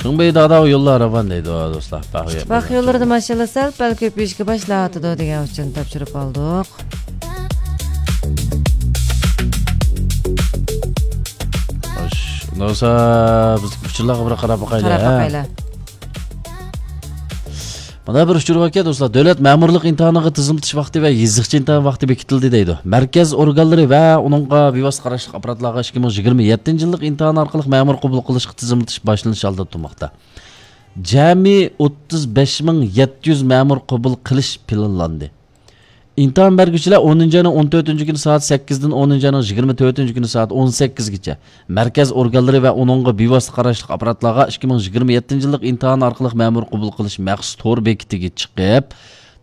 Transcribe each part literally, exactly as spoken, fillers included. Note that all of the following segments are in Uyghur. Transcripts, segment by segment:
خېڭبېي دادا يوللار راۋان دەيدۇ، دوستلار. باغ ئىتتىپاق يوللىرىدا ماشاللا سەل پەل كۆپىيىشكە باشلاۋاتىدۇ دېگەن ئۈچۈن تاپشۇرۇپ ئالدۇق. خوش، ئۇنداق بولسا بىز ئۇچۇرلارغا بىر قاراپ باقايلى، قاراپ ھە؟ باقايلى. مانا بىر ئۇچۇر باركەن، دوستلار. دۆلەت مەمۇرلۇق ئىمتىھانىغا تىزىملىتىش ۋاقتى ۋە يېزىقچە ئىمتىھان ۋاقتى بېكىتىلدى دەيدۇ. مەركەز ئورگانلىرى ۋە ئۇنىڭغا بىۋاسىتە قاراشلىق ئاپپاراتلارغا ئىككى مىڭ يىگىرمە يەتتىنچى يىللىق ئىمتىھان ئارقىلىق مەمۇر قوبۇل قىلىشقا تىزىملىتىش باشلىنىش ئالدىدا تۇرماقتا. جەمئىي ئوتتۇز بەش مىڭ يەتتە يۈز مەمۇر قوبۇل قىلىش پىلانلاندى. ئىمتىھان بەرگۈچىلەر ئونىنچى ئاينىڭ ئون تۆتىنچى كۈنى سائەت سەككىزدىن ئونىنچى ئاينىڭ يىگىرمە تۆتىنچى كۈنى سائەت ئون سەككىزگىچە مەركەز ئورگانلىرى ۋە ئۇنىڭغا بىۋاسىتە قاراشلىق ئاپپاراتلارغا ئىككى مىڭ يىگىرمە يەتتىنچى يىللىق ئىمتىھان ئارقىلىق مەمۇر قوبۇل قىلىش مەخسۇس تور بېكىتىگە چىقىپ،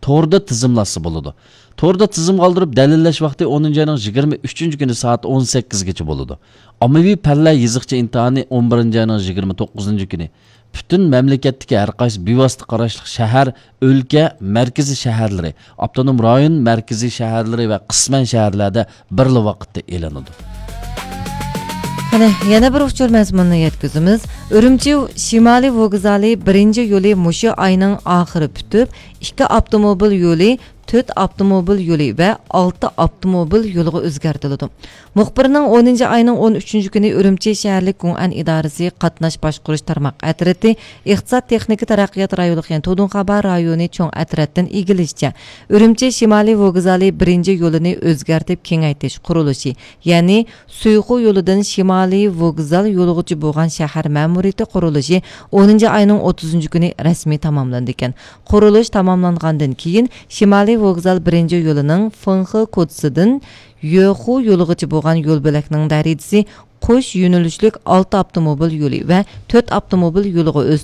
توردا تىزىملاتسا بولىدۇ. توردا تىزىم قالدۇرۇپ دەلىللەش ۋاقتى ئونىنچى ئاينىڭ يىگىرمە ئۈچىنچى كۈنى سائەت ئون سەككىزگىچە بولىدۇ. ئاممىۋى پەنلەر يېزىقچە ئىمتىھانى ئون بىرىنچى ئاينىڭ يىگىرمە توققۇزىنچى كۈنى پۈتۈن مەملىكەتتىكى ھەر قايسى بىۋاسىتە قاراشلىق شەھەر، ئۆلكە، مەركىزىي شەھەرلىرى، ئاپتونوم رايون مەركىزىي شەھەرلىرى ۋە قىسمەن شەھەرلەردە بىرلا ۋاقىتتا ئېلىنىدۇ. قېنى، يەنە بىر ئۇچۇر مەزمۇنىنى يەتكۈزىمىز. ئۈرۈمچى شىمالىي ۋوگزالى بىرىنچى يولى مۇشۇ ئاينىڭ ئاخىرى پۈتۈپ، ئىككى ئاپتوموبىل يولى، تۆت ئاپتوموبىل يولى ۋە ئالتە ئاپتوموبىل يولىغا ئۆزگەرتىلىدۇ. مۇخبىرنىڭ ئونىنچى ئاينىڭ ئون ئۈچىنچى كۈنى ئۈرۈمچى شەھەرلىك گۇڭئەن ئىدارىسى قاتناش باشقۇرۇش تارماق ئەترىتى ئىقتىساد تېخنىكا تەرەققىيات رايونلۇق، يەنى تودۇنخابا رايونى چوڭ ئەترەتتىن ئىگىلىشىچە، ئۈرۈمچى شىمالىي ۋوگزالى بىرىنچى يولىنى ئۆزگەرتىپ كېڭەيتىش قۇرۇلۇشى، يەنى سۇيخۇ يولىدىن شىمالىي ۋوگزال يولىغىچە بولغان شەھەر مەمۇرىيىتى قۇرۇلۇشى ئونىنچى ئاينىڭ ئوتتۇزىنچى كۈنى رەسمىي تاماملىنىدىكەن. قۇرۇلۇش تاماملانغاندىن كېيىن، شىمالىي ۋوگزال بىرىنچى يولىنىڭ فېڭخې كوچىسىدىن يۆخۇ يولىغىچە بولغان يول بۆلەكنىڭ دەرىجىسى قوش يۆنىلىشلىك ئالتە ئاپتوموبىل يولى ۋە تۆت ئاپتوموبىل يولىغا ئۆستى.